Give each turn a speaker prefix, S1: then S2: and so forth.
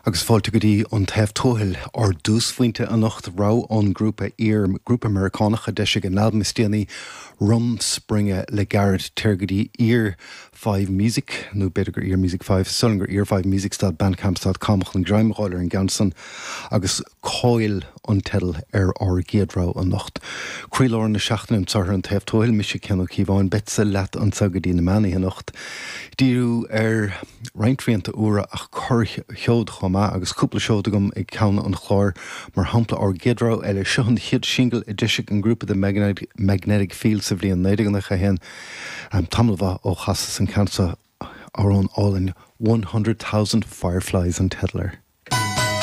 S1: Agus fáilte go dtí An Taobh Tuathail, ár dtúsphointe anocht, rogha ón ngrúpa Ear, grúpa Meiriceánach a d'eisigh a n-albam is déanaí, Rumspringa, le gairid. Téir go dtí Ear 5 Music, nó b'fhéidir gur Ear Music 5, is dóigh liom gur ear5music dot bandcamp dot com chun greim a fháil ar an gceann san, agus Coil an teideal ar ár gcéad rogha anocht. Croílár na seachtaine anseo ar An Taobh Tuathail, mise Cian Ó Cíobháin, beadsa leat anseo go dtí na meánoíche anocht. Díriú ar roinnt rianta úra ach corr-sheod chomh maith agus cúpla seod agam ag ceann an chláir, mar shampla ár gcéad rogha eile, seo an chéad singil a d'eisigh an grúpa The Magnetic Fields sa bhliain 1991, tamall mhaith ó chasas an ceann seo, amhrán álainn 100,000 Fireflies an teideal air.